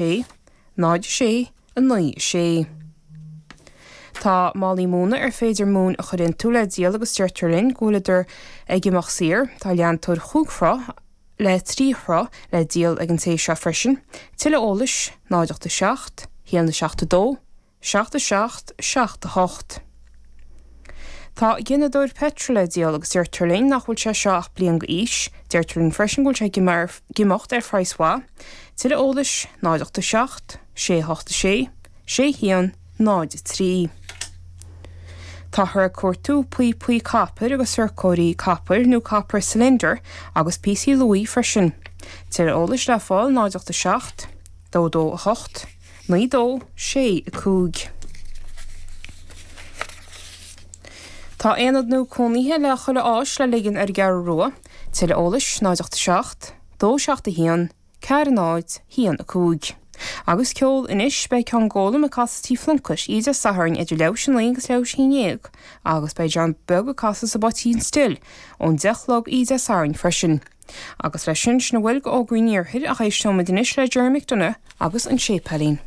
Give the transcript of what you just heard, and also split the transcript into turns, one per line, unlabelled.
6, 0, 6, 9, 6. Tá málaí móna ar féidir móin a chur iontu le díol agus deirtear linn go bhfuileadar ag imeacht saor. Tá leantóir chúig throigh le 3 throigh le díol ag an té seo freisin. Tuilleadh eolais, 0 8 7 1 7 2 7 7 7 8. Tá gineadóir peitril le díol agus deirtear linn nach bhfuil sé seo ach bliain go aois. Deirtear linn freisin go bhfuil sé ag imeacht ar phraghas mhaith. Tuilleadh eolais, 0 8 7 6 8 6 6 1 0 3. Táthar ag cuartú píopaí copair agus sorcóirí copair nó copper cylinder agus píosaí luaidhe freisin. Tuilleadh eolais le fáil 0 8 7 2 2 8 9 2 6 5. Tá aonad nua cónaithe le chuile áis le ligean ar an gCeathrú Rua. Tuilleadh eolais, 0 8 7 2 7 1 4 0 1 5. Agus ceol anois, beidh Con Gólam ag casadh Tí Phluincéid oíche Dé Sathairn idir leathuair théis a naoi agus leathuair théis a haon dhéag agus beidh John Beag ag casadh sa bPoitín Stil ón deich a chlog oíche Dé Sathairn freisin. Agus leis sin, sin a bhfuil d'fhógraí an Iarthair ach éisteoimid anois le Gerry McDonagh agus an Séipéilín.